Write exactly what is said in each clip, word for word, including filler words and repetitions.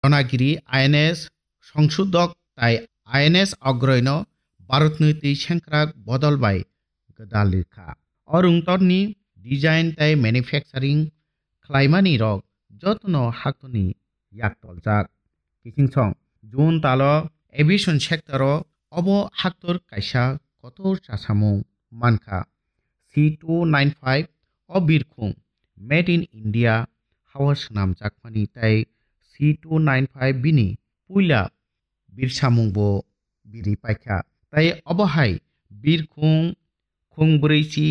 Ronagiri I N S Songsudok tai I N S Ogroino Bharatni twi sengkrak bodol bai gwdal rikha. O rungtorni design tai manufacturing khlaimani rok jotono haktorni yak toljak. Kichingsong, June talo aviation sector o obo haktor kaisa kotor chasamung mankha. C two nine five o birkhung made in India hao swnamjakmani tai C two nine five bini puila birsamungbo biri paikha. Tai obo hai birkhung khung brwi chi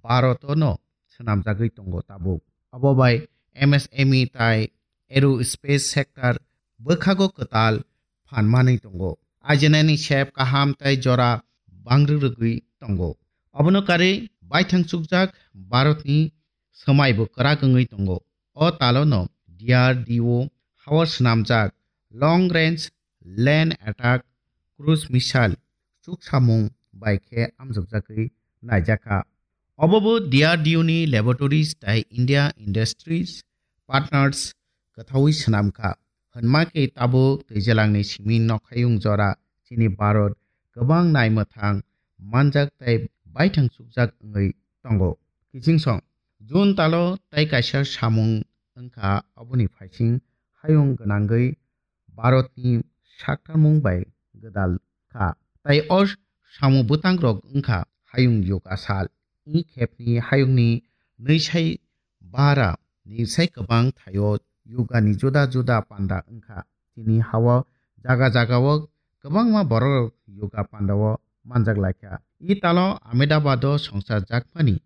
Bharotono swnamjagwi tongo tabuk. Obo bai M S M E tai aerospace sector bwkhago kwtal phan manwi tongo. Ajinani sep kaham tai jora bangrwrwgwi tongo. Obono karwi baithang chukjak Bharatni swmaibo kwrak wngwi tongo. O talono D R D O hao swnamjak long range land attack cruise missile chuksamung bai khe amjokjagwi naijakha. Obobo D R D O ni laboratories tai India industries partners kwthaui swnamkha. Hwnma khe tabuk twijalangni simi nokhayung jora chini Bharat kwbang naimwthang manjak tai baithang chukjak wngwi tongo. Kichingsong, June talo tai kaisa samung wngkha, oboni phaising hayung gwnangwi Bharatni saktarmung bai gwdal kha. Tai o samung bwtangrok wngkha hayung yoga sal. I khepni hayungni nwisai bara ni sai kwbang thaio yogani juda juda panda wngkha. Chini hao jaga jagao kwbangma borok yoga pandao manjak laikha. I talo Ahmedabado songchar jakmani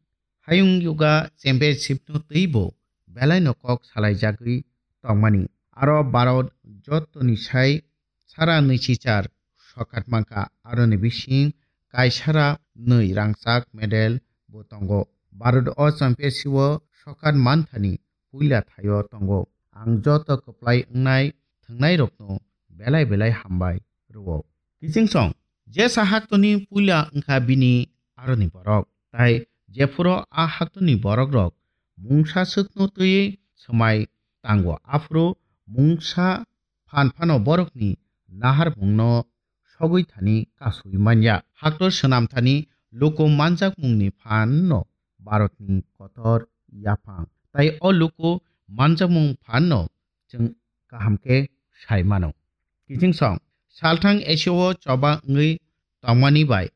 Hayung Yoga Championship no twibo belaino kok salaijagwi tongmani. Aro Bharat jottoni sai sara nwichichar sokat mankha, aroni bising kaisara nwi rangchak medal bo tongo. Bharat o championship o sokat manthani puila thaio tongo. Ang joto kwplai wngnai thwngnairokno belai belai hambai rwo. Kichingsong, jesa haktoni puila wngkha bini aroni borok, tai jephuru a haktoni borokrok mungsa swkno twiwi swmai tango, aphuru mungsa phan phano borokni naharmungno sogwi thani kasui manya. Haktor swnam thani luku manjakmungni phanno Bharatni kotor yaphang, tai o luku manjakmung phanno chwng kaham khe sai mano. Kichingsong, salthang Asia o choba wngwi tongmani bai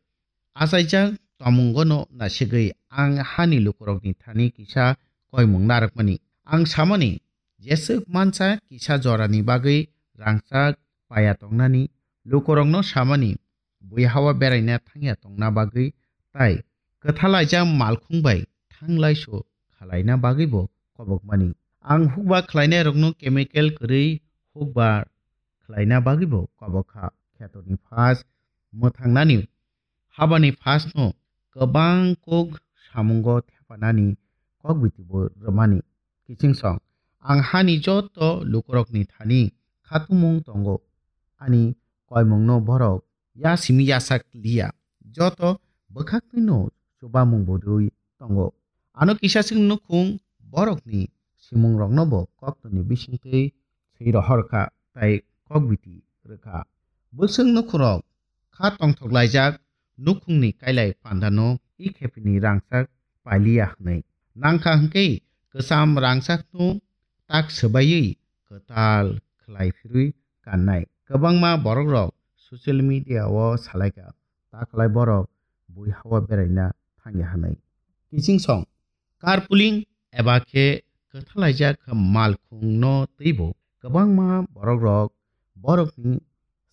achaijak tongmungono nasigwi ang hani lukurokni thani kisa koimung narwkmani. Ang samani, jeswk mansa kisa jorani bagwi rangchak paya tongnani, lukurokno samani, bui hao beraina thangya tongna bagwi tai kwthalaijak malkhung bai thanglaisu khalaina bagwibo kobokmani. Ang hukba khlainairokno chemical kwrwi hukba khlaina bagwibo kobok kha. Khetoni phas mwthangnani habani phasno kwbang kok samungo thepanani kokbitibo rwmani. Kichingsong, ang hani joto lukurokni thani khatungmung tongo, ani koimungno borok ya simi yasak liya, joto bwkhaktwino chubamung bo rwi tongo. Ano kisa chwng nukhung borokni simungroknobo koktwni bisingtwi swi rohor kha tai kokbiti rwkha. Bwswk nukhungrok kha tongthoklaijak nukhungni kailai pandano i khepini rangchak pailiya hwnwi. Nangkha hwnkhe kwcham rangchakno tak swbaiwi kwtal khlai phirwi kannai. Kwbangma borokrok social media o salaikha, ta khlai borok bui hao beraina thangya hwnwi. Kichingsong, carpooling eba khe kwthalaijak malkhungno twibo kwbangma borokrok borokni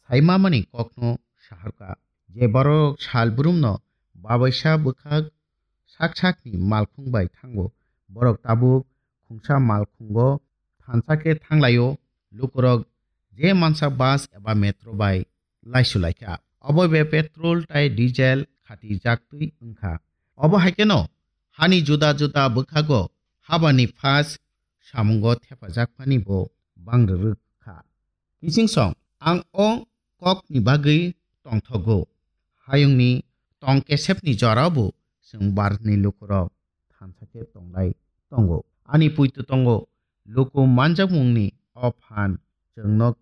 saimamani kokno saharkha. Je borok sal brumno babaisa bwkhak sak sakni malkhung bai thango, borok tabuk khungsa malkhungo thansa khe thanglaio. Lukurok je mansa bus eba metro bai laisu laikha, obo be petrol tai diesel khatijaktwi wngkha. Obo hai kheno hani juda juda bwkhago habani phas samungo thepajakmani bo bangrwrwk kha. Kichingsong, ang o kokni bagwi tongthogo. Hayungni tong kesepni jorao bo chwng Bharatni lukurok thansa khe tonglai tongo. Ani puitu tongo, luku manjakmungni o phan chwngno